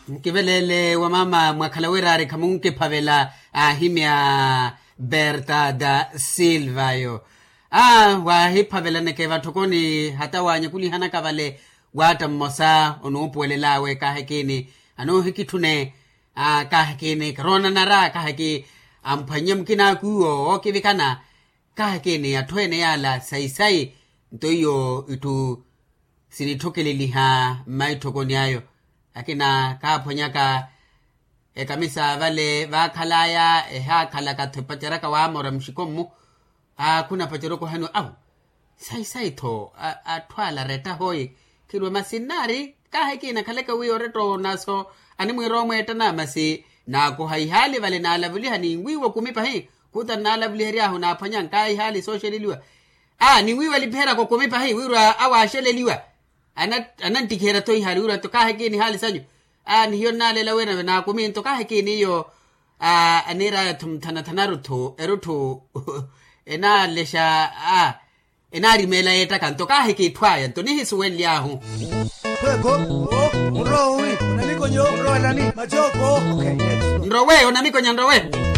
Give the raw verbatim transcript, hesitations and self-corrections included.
Nkiveleele wa mama mwakhala wiraari khamunkiphavela. Aahimya berta da silva yo. Aa waahiphavelaneke vatthokoni hata waanyekulihanaka vale. Waatta mmosa onuupuwelelaawe kaahekini anoohikitthune. Aa kaahekini karoonanara kaaheki amphwannye mukinaaku iwo ookivikana. Kaahekini atthu ene yaala sayi-sayi nto iyo itthu sinitthokeleliha mmaitthokoni ayo. Akina kaaphwanyaka ekamisa vale vaakhalaya ehaakhalaka-tho epaceraka waamora muxiko-mmu. Aa khunapaceraka ohaniwa awu sayi-sayi-tho. Atthu ala aretta hooyi khirwe masi nnaari kaahekina khaleke wi oretta onaso animwiira omweettana masi naakoha ihaali vale naalavuliha ninwiiwa okumi pahi. Khuta nnaalavulihery'ahu naaphwanya nkaayi ihaali sooxeleliwa. Aa ninwiiwa alipiheryaka okumi pahi wirwa awo aaxeleliwa. Ananttikiherya-tho ihaali wirwa-tho kaahekina ihaali sanyu. Aa nihiyo nnaalela wira nave naakumi nto kaahekina iyo. Aa aniiraya-tho muthana-thana erutthu erutthu enaalexa. Aa enaarimeela yeettaka nto kaaheki itthu aya nto nihisuwenly'ahu. Khweekho. Nrowe onamikonya nrowe.